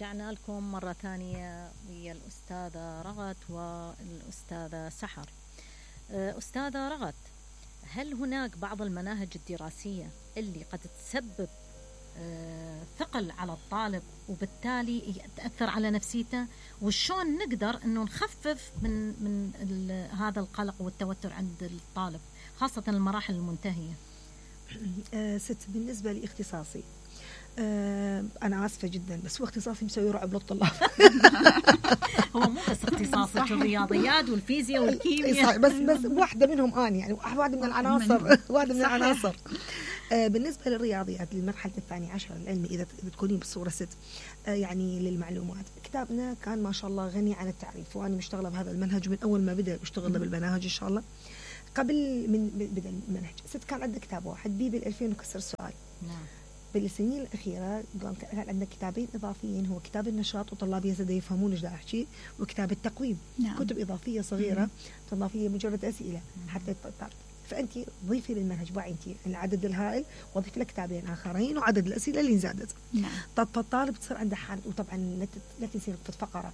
رجعنا لكم مرة ثانية ويا الأستاذة رغد والأستاذة سحر. أستاذة رغد، هل هناك بعض المناهج الدراسية اللي قد تسبب ثقل على الطالب وبالتالي تأثر على نفسيته، وشون نقدر أنه نخفف من هذا القلق والتوتر عند الطالب خاصة المراحل المنتهية؟ ست، بالنسبة لاختصاصي أنا آسفة جدا بس هو اختصاصي مسوي رعب للطلاب. هو مو بس اختصاصك الرياضيات والفيزياء والكيمياء، بس واحدة منهم أنا يعني واحدة من العناصر واحدة من العناصر. بالنسبة للرياضيات للمرحلة الثانية عشر العلمي، إذا تكونين بالصورة ست، يعني للمعلومات، كتابنا كان ما شاء الله غني عن التعريف، وأنا مشتغلة بهذا المنهج من أول ما بدأ بشتغل بالمناهج إن شاء الله. قبل من بدأ المنهج ست كان عندنا كتاب واحد بي بال2000 وكسر سؤال. نعم. بالسنين الأخيرة كان عندنا كتابين إضافيين، هو كتاب النشاط وطلاب يزدوا يفهمون إيش دا أحكي، وكتاب التقويم. نعم. كتب إضافية صغيرة إضافية مجرد أسئلة حتى تعرف. فأنت ضيفي للمنهج باعي أنت العدد الهائل، وضيف لك كتابين آخرين وعدد الأسئلة اللي زادت. نعم. فالطالب تصير عنده حالة. وطبعا لا تنسين في فقرة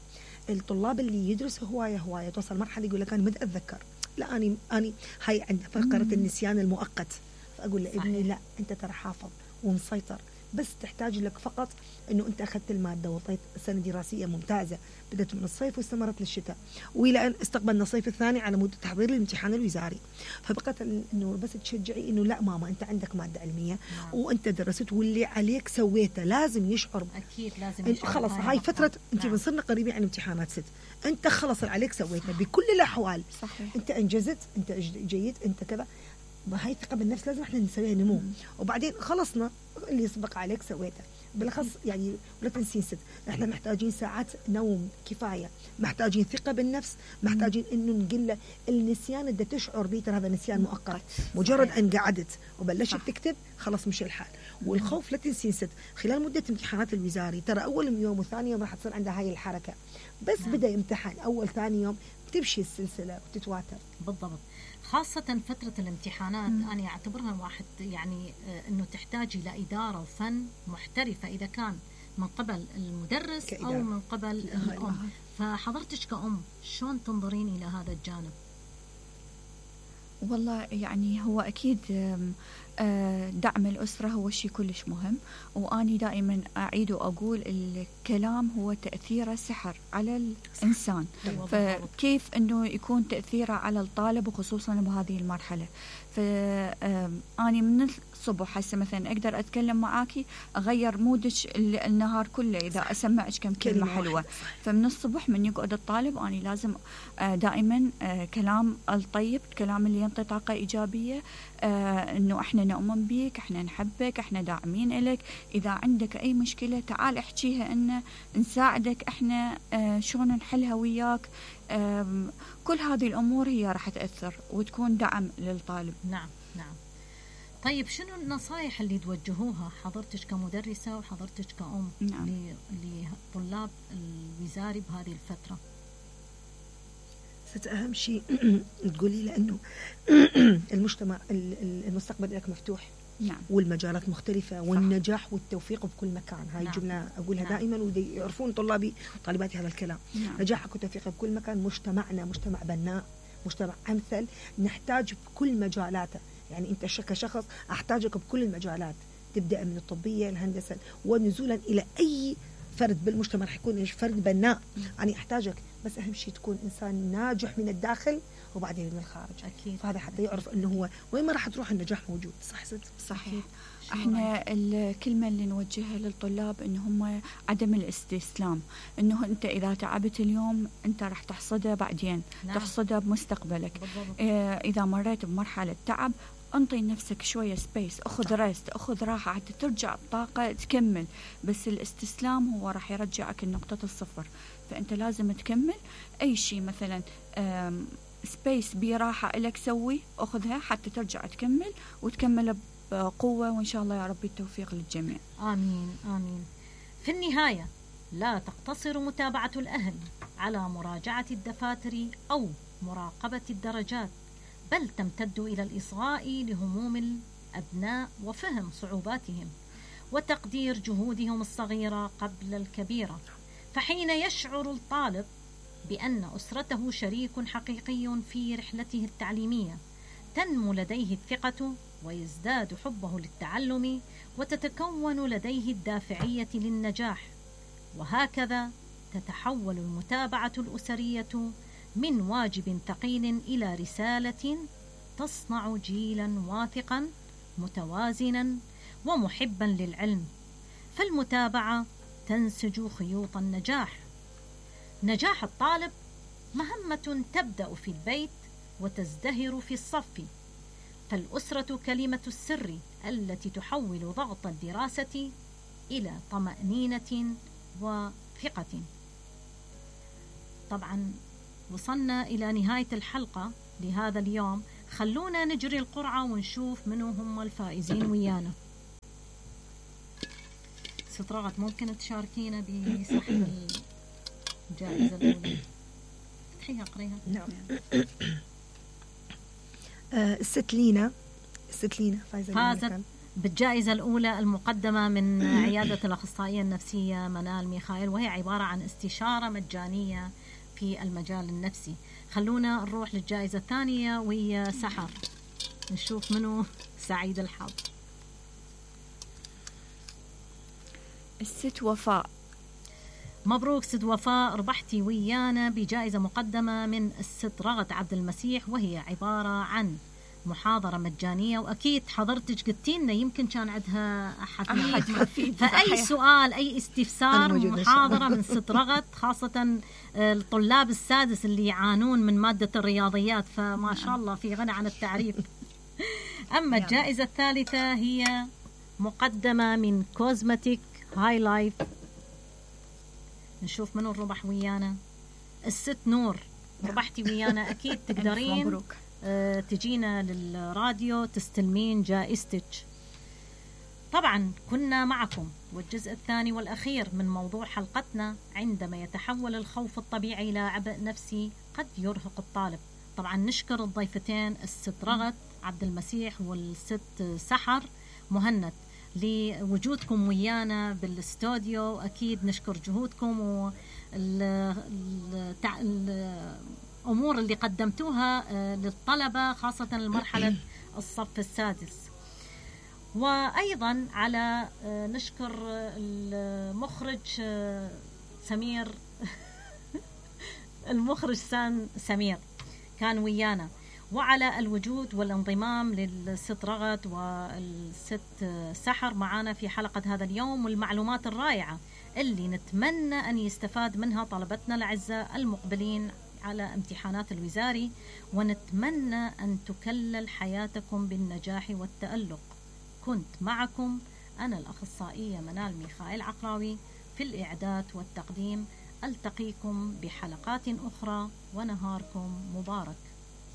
الطلاب اللي يدرسوا هواية توصل مرحلة يقول لك أنا ما أتذكر، لا أنا هاي عندنا فقرة النسيان المؤقت. فأقول له ابني لا، أنت ترى حافظ ومسيطر، بس تحتاج لك فقط انه انت اخذت الماده وطيت سنه دراسيه ممتازه، بدات من الصيف واستمرت للشتاء، والى ان استقبلنا الصيف الثاني على مود تحضير الامتحان الوزاري. فبقت انه بس تشجعي انه لا ماما انت عندك ماده علميه وانت درست واللي عليك سويته، لازم يشعر. اكيد لازم يشعر. خلص هاي فتره انت بنصرنا قريبين عن امتحانات ست، انت خلص اللي عليك سويته بكل الاحوال. صحيح. انت انجزت، انت جيد، انت كذا. هاي الثقة بالنفس لازم احنا نسويها نمو. وبعدين خلصنا اللي يسبق عليك سويته. بالاخص يعني ولا تنسين ست، احنا محتاجين ساعات نوم كفايه، محتاجين ثقه بالنفس، محتاجين انه نقول النسيان اللي تشعر به ترى هذا نسيان مؤقت، مجرد ان قعدت وبلشت تكتب خلاص مش الحال. والخوف لا تنسين ست، خلال مده امتحانات الوزاري ترى اول يوم وثاني يوم راح تصير عندها هاي الحركه، بس بدا امتحان اول ثاني يوم تمشي السلسله وتتواتر. بالضبط، خاصة فترة الامتحانات أنا أعتبرها واحد يعني أنه تحتاج إلى إدارة وفن محترفة، إذا كان من قبل المدرس كإدارة أو من قبل الأم. فحضرتك كأم شلون تنظرين إلى هذا الجانب؟ والله يعني هو أكيد دعم الأسرة هو شيء كلش مهم، وأني دائما أعيد وأقول الكلام هو تأثيره سحر على الإنسان. فكيف أنه يكون تأثيره على الطالب وخصوصا بهذه المرحلة؟ فأني من الصبح هسه مثلا أقدر أتكلم معاكي أغير مودك النهار كله إذا أسمعك كم كلمة حلوة. فمن الصبح من يقعد الطالب أني لازم دائما كلام الطيب، كلام اللي ينطي طاقة إيجابية، إنه إحنا نؤمن بيك، إحنا نحبك، إحنا داعمين إلك، إذا عندك أي مشكلة تعال احكيها، إن نساعدك إحنا شلون نحلها وياك. كل هذه الأمور هي راح تأثر وتكون دعم للطالب. نعم نعم. طيب شنو النصائح اللي توجهوها حضرتك كمدرسة وحضرتك كأم لطلاب الوزاري بهذه الفترة؟ أهم شيء تقولي لأنه المجتمع المستقبل لك مفتوح. نعم. والمجالات مختلفة. صح. والنجاح والتوفيق بكل مكان. هاي الجملة أقولها دائما ودي يعرفون طلابي وطالباتي هذا الكلام. نجاحك وتوفيقك بكل مكان. مجتمعنا مجتمع بناء، مجتمع أمثل، نحتاج بكل مجالاته. يعني أنت كشخص أحتاجك بكل المجالات، تبدأ من الطبية الهندسة ونزولا إلى أي فرد بالمجتمع رح يكون فرد بناء. يعني أحتاجك، بس أهم شيء تكون إنسان ناجح من الداخل وبعدين من الخارج. أكيد. فهذا حتى يعرف أنه هو وين ما راح تروح النجاح موجود. صح ست؟ صحيح. احنا الكلمة اللي نوجهها للطلاب إن هم عدم الاستسلام، إنه أنت إذا تعبت اليوم أنت راح تحصده بعدين. نعم. تحصده بمستقبلك. إذا مريت بمرحلة تعب انطي نفسك شوية سبيس، اخذ ريست، اخذ راحة حتى ترجع الطاقة تكمل. بس الاستسلام هو راح يرجعك لنقطة الصفر. فانت لازم تكمل اي شيء، مثلا سبيس براحة لك سوي، اخذها حتى ترجع تكمل وتكمل بقوة، وان شاء الله يا ربي التوفيق للجميع. آمين آمين. في النهاية لا تقتصر متابعة الأهل على مراجعة الدفاتر أو مراقبة الدرجات، بل تمتد إلى الإصغاء لهموم الأبناء وفهم صعوباتهم، وتقدير جهودهم الصغيرة قبل الكبيرة. فحين يشعر الطالب بأن أسرته شريك حقيقي في رحلته التعليمية تنمو لديه الثقة ويزداد حبه للتعلم وتتكون لديه الدافعية للنجاح. وهكذا تتحول المتابعة الأسرية من واجب ثقيل إلى رسالة تصنع جيلا واثقا متوازنا ومحبا للعلم. فالمتابعة تنسج خيوط النجاح. نجاح الطالب مهمة تبدأ في البيت وتزدهر في الصف، فالأسرة كلمة السر التي تحول ضغط الدراسة إلى طمأنينة وثقة. طبعا وصلنا إلى نهاية الحلقة لهذا اليوم. خلونا نجري القرعة ونشوف منو هم الفائزين ويانا. ست رغد ممكن تشاركينا بسحب الجائزة الأولى؟ افتحيها قريها. نعم. الست لينا فازت بالجائزة الأولى المقدمة من عيادة الأخصائية النفسية منال ميخائيل، وهي عبارة عن استشارة مجانية في المجال النفسي. خلونا نروح للجائزة الثانية وهي سحر، نشوف منو سعيد الحظ. الست وفاء. مبروك ست وفاء، ربحتي ويانا بجائزة مقدمة من الست رغد عبد المسيح، وهي عبارة عن محاضرة مجانية. وأكيد حضرتك قلتي لنا يمكن كان عندها أحد فأي سؤال أي استفسار محاضرة من ست رغد، خاصة الطلاب السادس اللي يعانون من مادة الرياضيات، فما شاء الله في غنى عن التعريف. أما الجائزة الثالثة هي مقدمة من كوزمتيك هاي لايف. نشوف منو الربح ويانا. الست نور، ربحتي ويانا. أكيد تقدرين تجينا للراديو تستلمين جائزتك. طبعا كنا معكم والجزء الثاني والأخير من موضوع حلقتنا، عندما يتحول الخوف الطبيعي إلى عبء نفسي قد يرهق الطالب. طبعا نشكر الضيفتين الست رغد عبد المسيح والست سحر مهند لوجودكم ويانا بالاستوديو. أكيد نشكر جهودكم والأمور اللي قدمتوها للطلبة خاصة المرحلة الصف السادس. وأيضا على نشكر المخرج سمير المخرج سمير كان ويانا، وعلى الوجود والانضمام للست رغد والست سحر معنا في حلقة هذا اليوم، والمعلومات الرائعة اللي نتمنى أن يستفاد منها طلبتنا الأعزاء المقبلين على امتحانات الوزاري، ونتمنى أن تكلل حياتكم بالنجاح والتألق. كنت معكم أنا الأخصائية منال ميخائيل عقراوي في الإعداد والتقديم. ألتقيكم بحلقات أخرى ونهاركم مبارك.